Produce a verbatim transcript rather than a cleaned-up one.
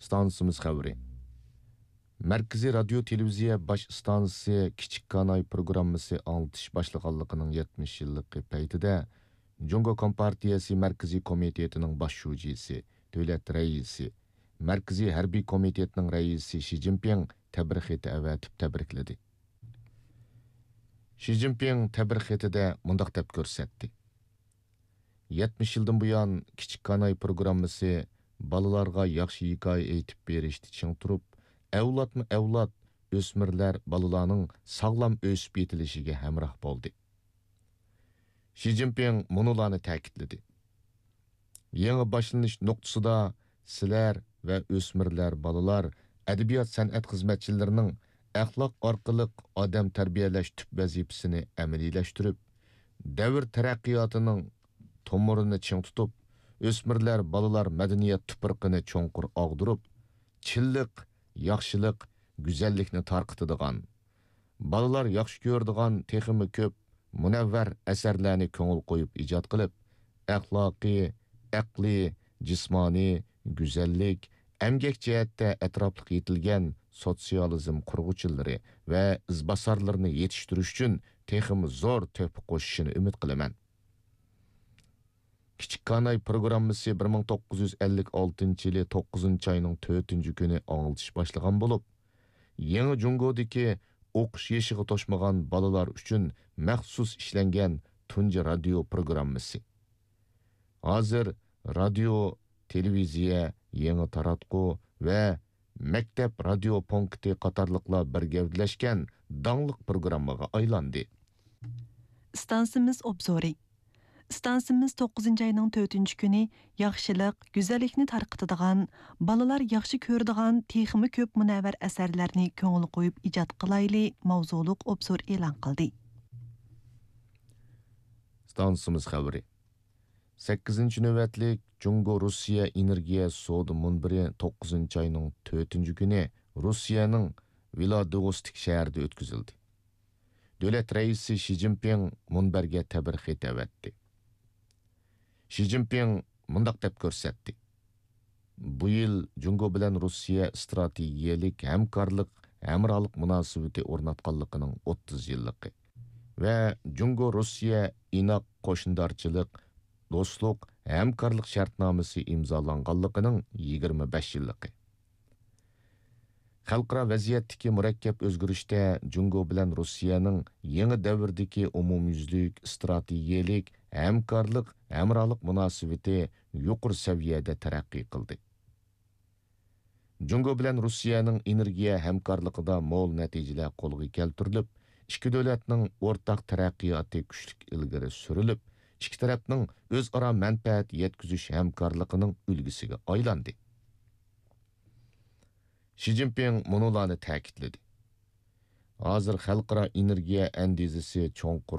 ئىستانسىمىز خەۋىرى. مەركىزىي رادىيو تېلېۋىزىيە باش ئىستانسىسى كىچىك كاناي پروگراممىسى ئاڭلىتىش باشلىغانلىقىنىڭ يەتمىش يىللىقى پەيتىدە، جۇڭگو كومپارتىيەسى مەركىزىي كومىتېتىنىڭ باش شۇجىسى، دۆلەت رەئىسى، مەركىزىي ھەربىي كومىتېتنىڭ رەئىسى شى جىنپىڭ تەبرىك خېتى ئەۋەتىپ تەبرىكلىدى. شى جىنپىڭ تەبرىك خېتىدە مۇنداق دەپ كۆرسەتتى: يەتمىش يىلدىن بۇيان، كىچىك كاناي پروگراممىسى بالىلارغا ياخشى ھېكايە ئېيتىپ بېرىشتە چىڭ تۇرۇپ، ئەۋلادمۇ ئەۋلاد، ئۆسمۈرلەر، بالىلارنىڭ ساغلام ئۆسۈپ يېتىلىشىگە ھەمراھ بولدى. شى جىنپىڭ مۇنۇلارنى تەكىتلىدى: يېڭى باشلىنىش نۇقتىسىدا سىلەر ۋە ئۆسمۈرلەر، بالىلار، ئەدەبىيات، سەنئەت خىزمەتچىلىرىنىڭ ئەخلاق ئارقىلىق ئادەم تەربىيەلەش تۈپ ۋەزىپىسىنى ئەمەلىيلەشتۈرۈپ، دەۋر تەرەققىياتىنىڭ تومۇرىنى چىڭ تۇتۇپ، ئۆسمۈرلەر، بالىلار مەدەنىيەت تۇپرىقىنى چوڭقۇر ئاغدۇرۇپ، چىنلىق، ياخشىلىق، گۈزەللىكنى تارقىتىدىغان، بالىلار ياخشى كۆرىدىغان تېخىمۇ كۆپ مۇنەۋۋەر ئەسەرلەرنى كۆڭۈل قويۇپ ئىجاد قىلىپ، ئەخلاقىي، ئەقلىي، جىسمانىي، گۈزەللىك، ئەمگەك جەھەتتە ئەتراپلىق يېتىلگەن سوتسىيالىزم قۇرغۇچىلىرى ۋە ئىزباسارلىرىنى يېتىشتۈرۈش ئۈچۈن تېخىمۇ زور تۆھپە قوشۇشىنى ئۈمىد قىلىمەن. كىچىك كاناي پروگراممىسى بىر مىڭ توققۇز يۈز ئەللىك ئالتىنچى يىلى توققۇزىنچى ئاينىڭ تۆتىنچى كۈنى ئاڭلىتىش باشلىغان بولۇپ، يېڭى جۇڭگودىكى ئوقۇش يېشىغا توشمىغان بالىلار ئۈچۈن مەخسۇس ئىشلەنگەن تۇنجى رادىيو پروگراممىسى. ھازىر رادىيو، تېلېۋىزىيە، يېڭى تاراتقۇ ۋە مەكتەپ رادىيو پونكىتى قاتارلىقلار بىر گەۋدىلەشكەن داڭلىق پروگراممىغا ئايلاندى. ئىستانسىمىز ئوبزورى. ئىستانسىمىز توققۇزىنچى ئاينىڭ تۆتىنچى كۈنى ياخشىلىق، گۈزەللىكنى تارقىتىدىغان، بالىلار ياخشى كۆرىدىغان تېخىمۇ كۆپ مۇنەۋۋەر ئەسەرلەرنى كۆڭۈل قويۇپ ئىجاد قىلايلى ماۋزۇلۇق ئوبزور ئېلان قىلدى. ئىستانسىمىز خەۋىرى. سەككىزىنچى نۆۋەتلىك جۇڭگو-روسىيە ئېنېرگىيە سودا مۇنبىرى توققۇزىنچى ئاينىڭ تۆتىنچى كۈنى روسىيەنىڭ ۋىلادىۋوستىك شەھىرىدە ئۆتكۈزۈلدى. دۆلەت رەئىسى شى جىنپىڭ مۇنبەرگە تەبرىك خېتى ئەۋەتتى. شى جىنپىڭ مۇنداق دەپ كۆرسەتتى: بۇ يىل جۇڭگو بىلەن روسىيە ئىستراتېگىيەلىك ھەمكارلىق، ھەمراھلىق مۇناسىۋىتى ئورناتقانلىقىنىڭ ئوتتۇز يىللىقى ۋە جۇڭگو-روسىيە ئىناق قوشنىدارچىلىق، دوستلۇق، ھەمكارلىق شەرتنامىسى ئىمزالانغانلىقىنىڭ يىگىرمە بەش يىللىقى. خەلقئارا ۋەزىيەتتىكى مۇرەككەپ ئۆزگىرىشتە جۇڭگو بىلەن روسىيەنىڭ يېڭى دەۋردىكى ئومۇميۈزلۈك ئىستراتېگىيەلىك ھەمكارلىق، ھەمراھلىق مۇناسىۋىتى يۇقىرى سەۋىيەدە تەرەققىي قىلدى. جۇڭگو بىلەن روسىيەنىڭ ئېنېرگىيە ھەمكارلىقىدا مول نەتىجىلەر قولغا كەلتۈرۈلۈپ، ئىككى دۆلەتنىڭ ئورتاق تەرەققىياتى كۈچلۈك ئىلگىرى سۈرۈلۈپ، ئىككى تەرەپنىڭ ئۆزئارا مەنپەئەت يەتكۈزۈش ھەمكارلىقىنىڭ ئۈلگىسىگە ئايلاندى. شى جىنپىڭ مۇنۇلارنى تەكىتلىدى: ھازىر خەلقئارا ئېنېرگىيە ئەندىزىسى چوڭقۇر